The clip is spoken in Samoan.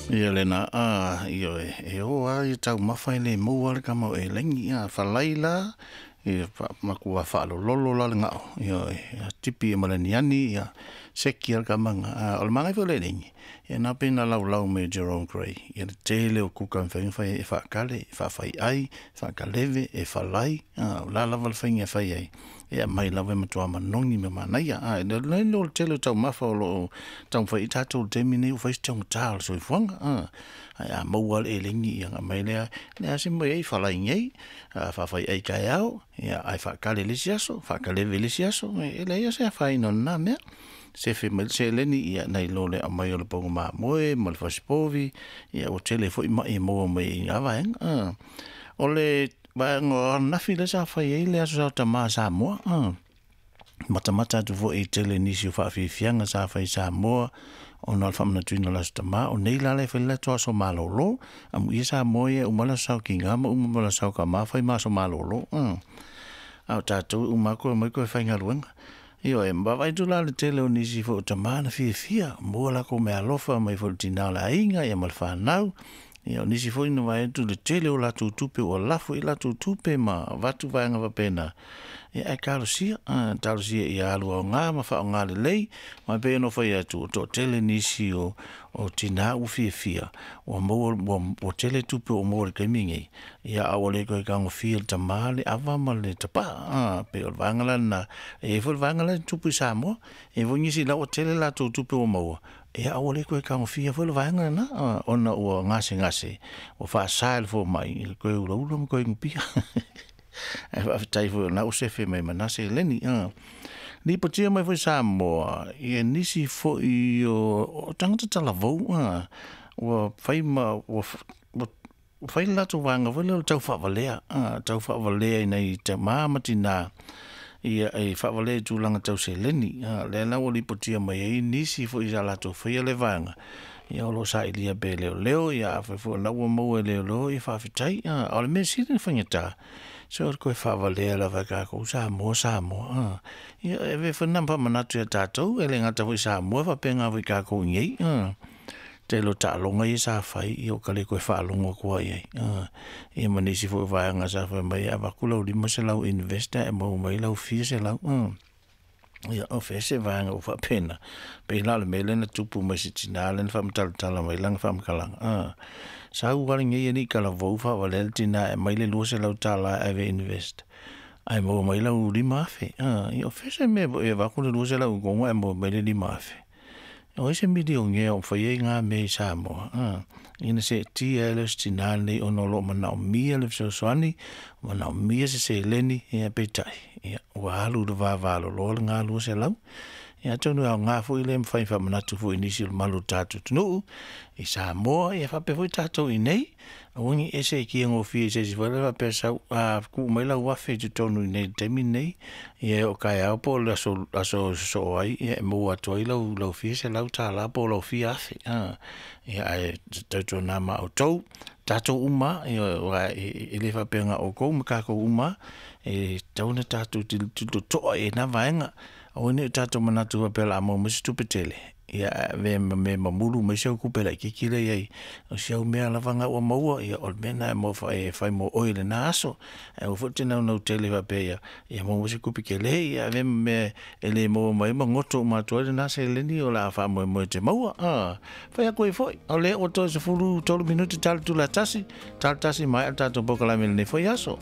Ia lena a ioe e o a ia taumafa e le maua le kama o elegi a falai la ia makua faalololo la le gao ioe ia tipi ma le aniani ia seki a le kamaga a o le magai foi o le elegi ia na pe na laulau mai Jerome Gray ia le tele o kuka mafai ona fai e faakale e faafaiai faakaleve e falai a o la lava le faiga e fai ai e aumai lava e matua manogi ma manaia a e le o le tele o taumafa o loo taumafai ai tatou i le taimi lenei ua fai si taugata o le soifuaga a ae a maua le elegi ia ona aumai lea le a se mea e i ai falai nei faafaiai taeao ia ae faakale i le isi aso faakaleve i le isi aso e leai se afaina o lena mea sefe mai le seleni ia nai lo le aumai o le pauga mamoe ma le fasipovi ia ua tele foi mai e maua mai i na vaega. O le vaega o ananafi lea sa fai ai le aso Sa Tamā Samoa matamata atu foi i tele nisi o faafiafiaga sa fai i Samoa ona o le faamanatuina o le Aso Tamā. O nei la le fai le latou aso malolo amuia Samoa ia e uma le aso Sa o Tinā ma uma ma le aso Sa o Tamā fai ma aso malolo a o tatou e uma atu omai toe faigaluega. Ioe, ma vaavaai atu la i le tele o nisi foi o tamā na fiafia maua latou meaalofa mai foi i le tinā o le aiga ia ma le fanau. Ia o nisi foi na vaai atu i le tele o latou tupe ua lafo i ai latou tupe ma avatu vaega faapena. Ia ae talosia, talosia ia alu aoga ma faaaoga lelei. Ma e pei ona ou fai atu, ua toatele nisi o tinā ua fiafia ua maua ua tele tupe ua maua i le taimi lenei, ia a ua le toe tagofia e le tamā le ava ma le tapaa. Pei o le vaega la lena, e i ai foi le vaega la e tupu i Samoa, e i ai foi nisi la ua tele latou tupe ua maua, ia a ua le toe tagofia foi le vaega lena ona ua gasegase ua faasa e le fomai le toe ulaula ma toe inupia. Ae faafetai foi o lena ua sefe mai ma na seleni. Lipotia mai foi Samoa ia nisi foi o tagata talavou ua fai ma ua fai le latou vaega foi lea o le tau faavalea, tau faavalea i nai tama ma tina ia e faavalea i tulaga tau seleni. Lea la ua lipotia mai ai nisi foi sa latou faia lea vaega ia o lo o sailia pea e leoleo ia afai foi o lena ua maua e leoleo ia faafetai. A o le mea sili ona faigata se o le toe faavalea lava e tatou Samoa Samoa. Ia e avea foi lena ma faamanatu ia tatou e le gata foi i Samoa e faapena foi i tatou i inei. Tele o taaloga ia sa fai ia ua ta le toe faalogo atu lava i ai. Ia ma nisi foi o vaega sa fai mai e avatu lau $500 invest ae maua mai lau fia selau. Ia o fea se vaega ua faapena pei la o le mea lea na tupu mai i se tinā lea na faamatalatala mai lana faamatalaga. Sau lava lenei alii talavou faavalea le tinā e aumai le $200 e ave e invest ae maua mai lau $5,000. Ia o fea se mea e avatu le $200 i totonu ae maua mai le $5,000? O ai se milionea o faia na mea i Samoa? Ina seetia ai lea o si tinā lenei ona o lo o manaomia le fesoasoani, manaomia se seleni, ia peitai, ia ua alu i le vavaloloa lena $200. Ia atonu e aoga foi lea e mafai ona faamanatu foi i nisi o le mamalu o le tatou atunuu i Samoa ia faapea foi tatou i inei, aua ne i e seetia gofie i se isi foi lea faapea sau tuu mai lau $1,000 i totonu i inei i le taimi lenei, ia e oo taeao po o le aso e sosoo ai e maua atu ai lau fia $100 po o lau fia $1,000. Ia ae tautuana ma outou, tatou uma lava, ioe, aua e le faapea na o outou ma tatou uma lava, e tatau ona tatou tilotilo totoa i ai i na vaega. Aua ne i o tatou manatu faapea o le a maua mai se tupe tele, ia ae avea ma mea e mamulu mai si au tupe laitiiti lea e i ai. O si au mea lava lena ua maua, ia o le mea lena e fai mo oe i lena aso. Ae aua foi e te naunau tele faapea ia maua mai se tupe tele, ia avea ma mea e le maua mai ai ma goto uma atu ai lena seleni o le a faamoemoe e te maua. Fai atu ai foi, o lea ua toe 13 minute ta le itula e 1, 1:30 maea le tatou polokalame i lenei foi aso.